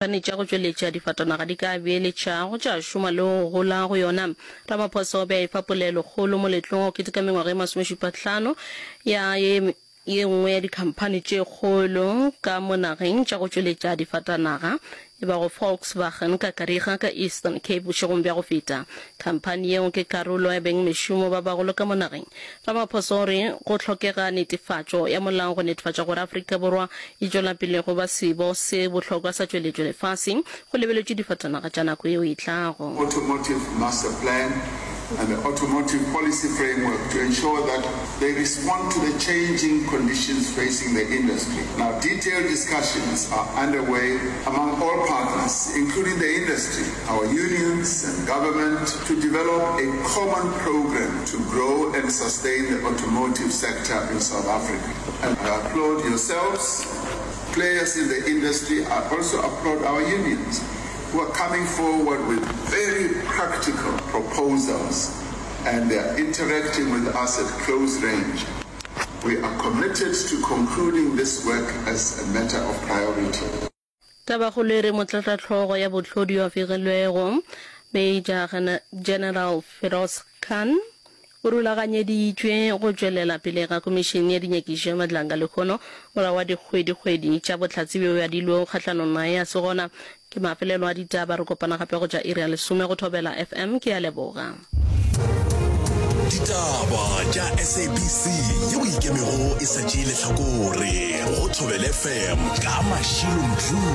Dikhamphani tša go tšweletša difatanaga di ka beeletša go tša šoma le go gola go yona. Ramaphosa o be a efa polelokgolo moletlong wa go keteka mengwaga e masomešupahlano ya ye ye nngwe ya dikhamphani tše kgolo ka mo nageng tša go tšweletša difatanaga e bago Volkswagen ka Kariega ka Eastern Cape bošegong bja go feta. Khamphani yeo ke karolo ya bengmešomo ba bagolo ka mo nageng. Ramaphosa o re go hlokega netefatšo ya molao go netefatša gore Afrika Borwa e tšwela pele go ba sebo se bohlokwa sa tšweletšo lefaseng go lebeletšwe difatanaga tša nako yeo e tlago. Automotive Master Plan and the Automotive Policy Framework to ensure that they respond to the changing conditions facing the industry. Now, detailed discussions are underway among all partners, including the industry, our unions and government, to develop a common program to grow and sustain the automotive sector in South Africa. And I applaud yourselves, players in the industry. I also applaud our unions who are coming forward with very practical proposals and they are interacting with us at close range. We are committed to concluding this work as a matter of priority. Tabakgolo e re Motlatšahlogo ya bohlodi yo a fegilwego, Major General Feroz Khan, o rulaganyeditšwe go tšwelela pele ga Komišene ya Dinyakišišo ya Madlanga lehono morago ga dikgwedikgwedi tša bohlatse bjo adilwego kgahlanong naye a se gona. Ke mafelelo a ditaba, re kopana gape go tša iri ya lesome go Thobela FM. Ke a leboga. Ditaba tša SABC yeo e ikemego e sa tšee lehlakore go Thobela FM ka Mashilo Mdluli.